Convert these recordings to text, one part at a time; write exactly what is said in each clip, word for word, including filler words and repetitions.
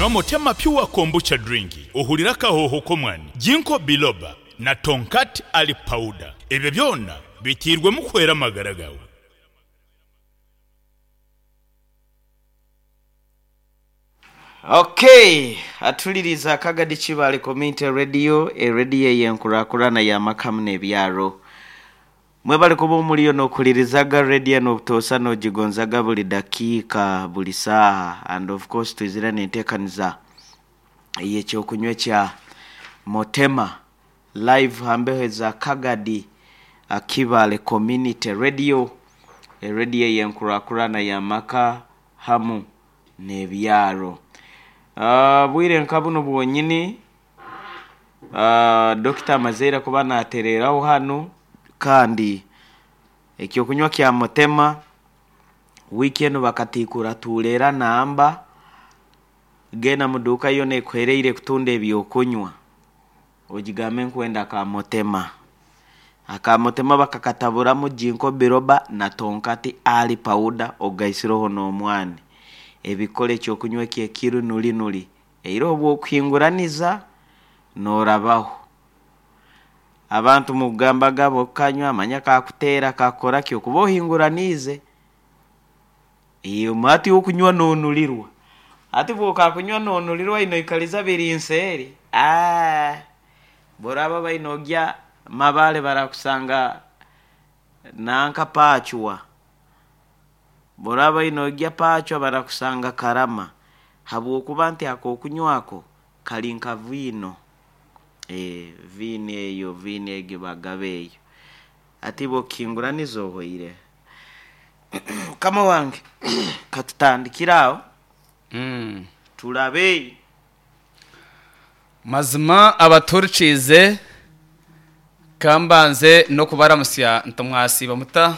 Nywa Motema Pure Kombucha Drink ohurire akahoho k'omwani, Ginkgo Biloba na Tongkat Ali Powder. Ebyo byona bitiirwemu kuhwera amagara gaawe. Okay, atuliriza Kagadi Kibaale Community Radio, erediyo ey'enkurakurana y'amakamu n'ebyaro. Mwebale kuba omuliyo n'okulirizaga rediyo n'obutoosa n'ogigonzaga buli dakiika buli saaha, and of course twizire n'enteekaniza ey'ekyokunywa ekya Motema live hambeho eza Kagadi Kibaale Community Radio, erediyo ey'enkurakurana y'amaka hamu n'ebyaro. Uh, bwire nka buno bwonyini uh, Dokita amazeire kuba natereraho hanu, kandi ekyokunywa kya Motema wiiki enu bakatikura tuleera namba genda muduuka yona ekuhereire kutunda ebyokunywa ogigambe nkwenda aka Motema. Aka Motema bakakataburamu Ginkgo Biloba na Tongkat Ali Powder ogaisireho n'omwani, ebikora ekyokunywa eki ekiri nuri nuri, era obwokuhinguraniza norabaho. Abantu mukugambaga bokukanywa manya kakuteera kakukora ki, okuba ohinguraniize hati okunywa nonulirwa, hati bwokakunywa nonulirwa noikaliza biri nseeri, aah boraba baine ogya Mabale barakusanga nanka Pachwa, boraba baine ogya Pachwa barakusanga Karama, habwokuba nti akokunywa ako kali nka viino, ee viino eyo viino egi bagaba eyo, hati bwokihinguraniza ohoire. Mukama wange katutandikire aho Mm. turabe. Mazima abaturikiize kambanze n'okubaramusya nti mwasiiba muta,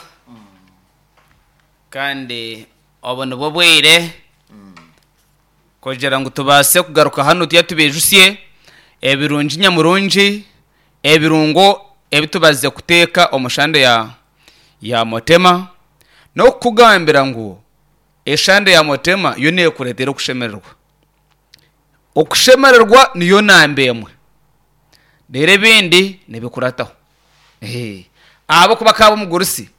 kandi obu nibwo bwire kugira ngu tubaase kugaruka hanu tuye tubijusye ebirungi nyamurungi, ebirungo ebitubazize kuteeka omu shande ya ya Motema, n'okukugambira ngu eshande ya Motema yo neekureetera okushemererwa. Okushemererwa niyo namba emwe, reero ebindi nibikurataho. Ahabw'okuba kaaba omugurusi,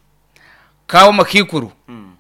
kaaba omukiikuru,